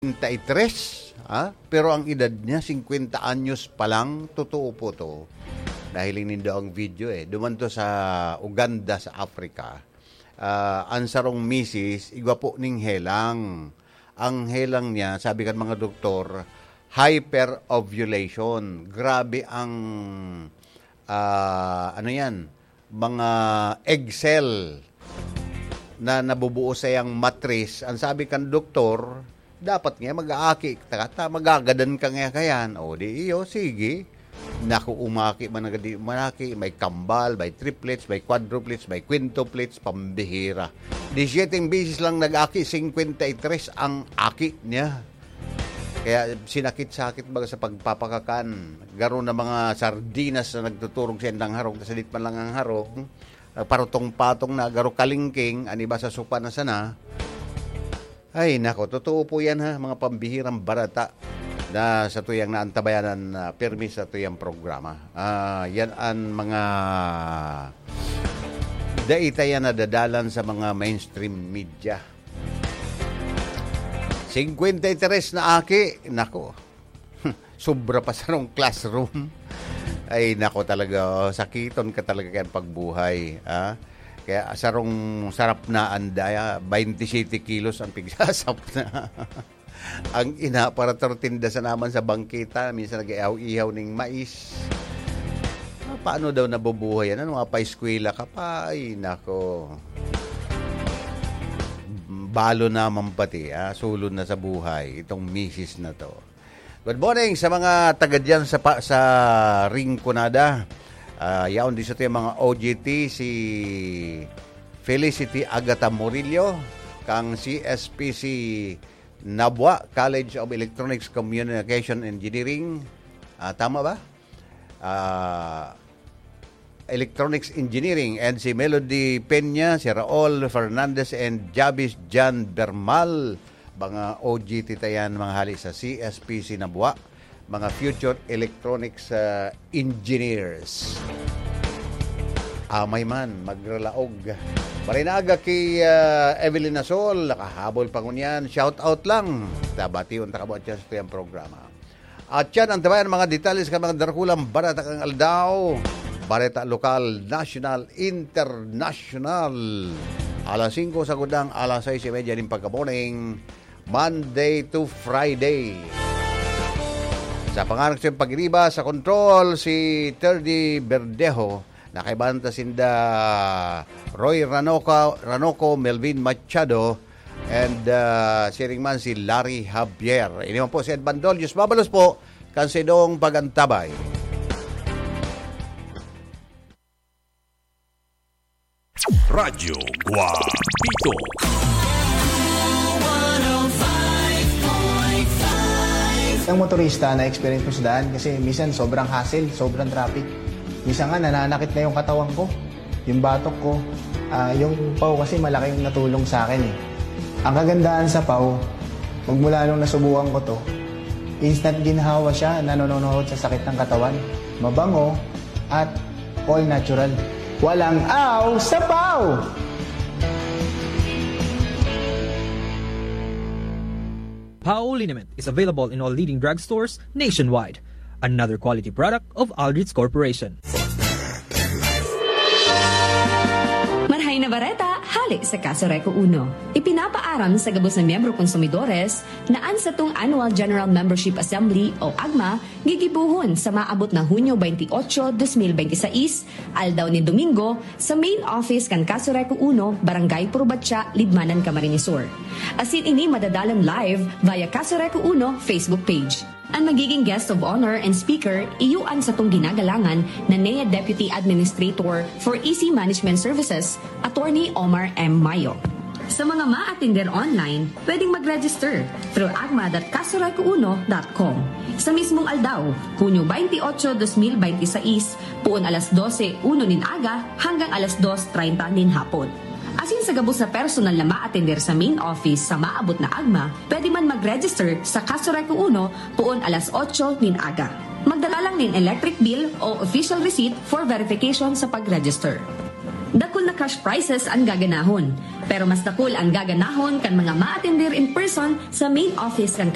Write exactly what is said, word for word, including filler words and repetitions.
Treinta y tres, ha? Pero ang edad niya, singkwenta anyos pa lang. Totoo po to. Dahil nindo ang video eh. Duman to sa Uganda, sa Africa. Ah, ang sarong misis, igwa po ning helang. Ang helang niya, sabi kan mga doktor, hyperovulation. Grabe ang, ah, ano yan, mga egg cell na nabubuo sa iyang matris. Ang sabi kan doktor, dapat nga mag-aaki ka ta, magagadan ka nga kayan. O di iyo, sige. Naku, umaki man nga di umaki, may kambal, may triplets, may quadruplets, may quintuplets, pambihira. Disyeteng beses lang nag-aki, singkwenta y tres ang aki niya. Kaya sinakit-sakit baga sa pagpapakakan. Garo na mga sardinas na nagtuturog sa indang harong, tas sadit man lang ang harong, nagparutong-patong na, garo kalingking, an iba sa sopa na sana. Ay, nako, totoo po yan ha, mga pambihirang barata na sa tuyang naantabayanan na pirmi sa tuyang programa. Ah, yan ang mga dai ta yan nadadalan sa mga mainstream media. Singkwenta y tres na aki, nako. Sobra pa sarong classroom. Ay, nako talaga, oh, sakiton ka talaga kan pagbuhay, ah. Kaya sarong sarap na anda, ah, baynte siyete kilos ang pigsasap na. Ang ina, para tortinda sa naman sa bangkita, minsan nag-ihaw-ihaw ning mais. Ah, paano daw nabubuhay yan? Ano, mapaeskwela ka pa? Ay, nako. Balo naman pati, ah, sulod na sa buhay, itong misis na to. Good morning sa mga taga dyan sa pa, sa Rinconada. Ah, yaon din sa ating mga O G T, si Felicity Agata Murillo, kang C S P C Nabua, College of Electronics Communication Engineering. Ah, tama ba? Ah, Electronics Engineering, and si Melody Peña, si Raul Fernandez, and Javis Jan Bermal, mga O G T ta yan, mga hali sa C S P C Nabua, mga future electronics, ah, engineers. Amay man, magralaog. Maray na aga ki, ah, Evelyn Nasol, nakahabol pa ngunyan. Shout out lang. Tabation ta kamo dyan sa tuyang programa. At yan ang tabayan mga detalye sa mga darakulang bareta kan aldaw. Bareta lokal, nasyonal, internasyonal. Alas singko sa gudang, alas sais y media nin pagka-morning, Monday to Friday. Sa pangaran sa pagiriba, sa control, si Terdy Verdejo, nakaibahan ta sinda Roy Ranoca, Ranoco, Melvin Machado, and, ah, siring man si Larry Javier. Ini man po si Ed Bandol. Diyos mabalos po kan saindong pag-antabay. Radyo Guapito. Ang motorista na experience ko sa daan kasi minsan sobrang hassle, sobrang traffic. Minsan nga nananakit na yung katawan ko, yung batok ko. Ah, yung paw kasi malaking natulong sa akin eh. Ang kagandahan sa paw, magmula nung nasubukan ko to, instant ginhawa siya, nanononohod sa sakit ng katawan. Mabango at all natural. Walang aw sa paw! Pao liniment is available in all leading drugstores nationwide. Another quality product of Aldrich Corporation. Marhay na bareta, hale sa Kaso Reco Uno. Ipinapaaram sa gabos na miyembro konsumidores na an satong Annual General Membership Assembly o agma gigibohon sa maabot na Hunyo twenty-eight, twenty twenty-six, aldaw nin Domingo, sa main office kan Kaso Reco Uno, Barangay Purubatya, Libmanan, Camarines Sur. Asin ini madadalan live via Kaso Reco Uno Facebook page. An magiging guest of honor and speaker, iyo an satong ginagalangan na N E A Deputy Administrator for E C Management Services, Attorney Omar M. Mayo. Sa mga maatender online, pwedeng mag-register through agma dot kasoreco uno dot com. Sa mismong aldaw, Hunyo twenty-eight, twenty twenty-six, puon alas dose uno nin aga hanggang alas dos treinta nin hapon. Asin sa gabos na personal na maatender sa main office sa maabot na agma, pwede man mag-register sa Kaso Reco Uno puon alas otso nin aga. Magdala lang nin electric bill o official receipt for verification sa pag-register. Dakul na cash prizes ang gaganahon, pero mas dakul ang gaganahon kan mga maatender in person sa main office kan